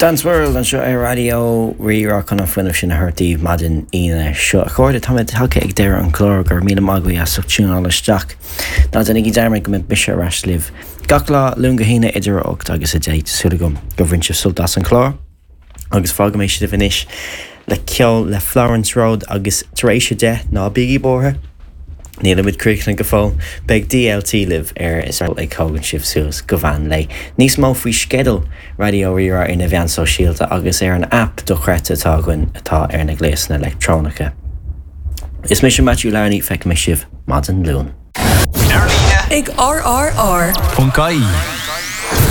Dance World anseo ar Raidió Rí-Rá chun an fuinneamh sin a thabhairt daoibh maidin Aoine seo. A chairde, táimid tagtha ag deireadh an chláir, go raibh míle maith agaibh as ucht tiúnáil isteach. Ná déanaigí dearmad go mbeidh mise ar ais libh gach lá, Luan go hAoine, idir a 8 agus 10. Tá súil agam gur bhain sibh sult as an chlár. Agus fágfaidh mé sibh anois le ceol le Florence Road agus tar éis a 10, ná bígí buartha, nílimid críochnaithe go fóill, beidh DLT libh ar is ag tógaint sibh suas go mheán lae. Níos mó faoi sceideal Raidió Rí-Rá ar na mheáin sóisialta agus ar an aip dochreidte atá againn atá ar na gléasanna leictreonacha. Is mise Matthew Larney, feicfidh mé sibh maidin Luain. Ar líne ag RRR. Ponc ie.